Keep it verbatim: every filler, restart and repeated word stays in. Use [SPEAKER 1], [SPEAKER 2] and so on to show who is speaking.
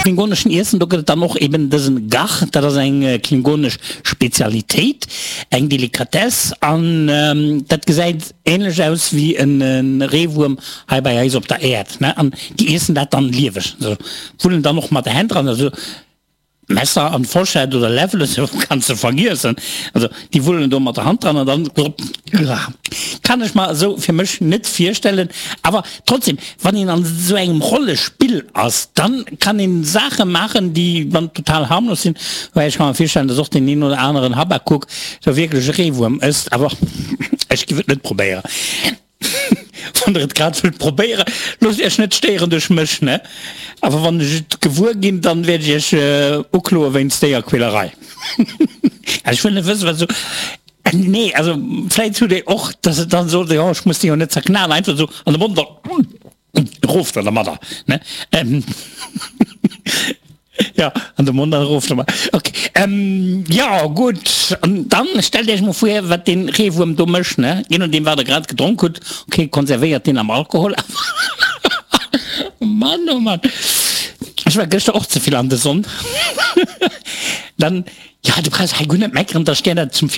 [SPEAKER 1] Klingoneschen Iessen, do gëtt et dann och eben dësen Gagh, dat ass eng klingonesch Spezialitéit, eng Delikatess an dat gesäit ähnlech aus wéi en Reewuerm hei bei eis op der Äerd, ne, an déi iessen dat dann lieweg, also wullen dann och mat der Hänn dran, also Messer an Forschett oder Läffel esou kanns de vergiessen. Also déi wullen do mat der Hand dran an dann kann ech mer esou fir mech net virstellen. Awer trotzdem, wann een an esou engem Rollespill ass, dann kann een Saache maachen, déi dann total harmlos sinn. Woubäi ech ka mer virstellen, dass och deen een oder aneren Habakuk do wierklech e Reewuerm ësst. Awer ech giff et net probéieren. Wann der et grad wëllt probéieren, loosst iech net stéieren duerch mech, ne? Awer wann ech et gewuer ginn, dann wäert ech iech ukloe wéinst Déierquälerei. Ech wëll net wëssen, wat esou, nee, also vläit hutt dir och, dass et dann sot, jo, ech muss déi jo net zerknallen, einfach esou an de Mond an erof dann dermadder, ne? Jo, an de Mond an erof domat. Ok, jo, gutt. An dann stellt Iech mol vir, wat dee Reewuerm do mécht, ne? Je nodeem, wat Der grad gedronk hutt. Ok, konservéiert deen am Alkohol, awer Mann, oh Mann. Ech war gëschter och ze vill an de Sonn. Dann, jo, du brauchs hei guer net meckeren, da ech gär dat zum Virwurf.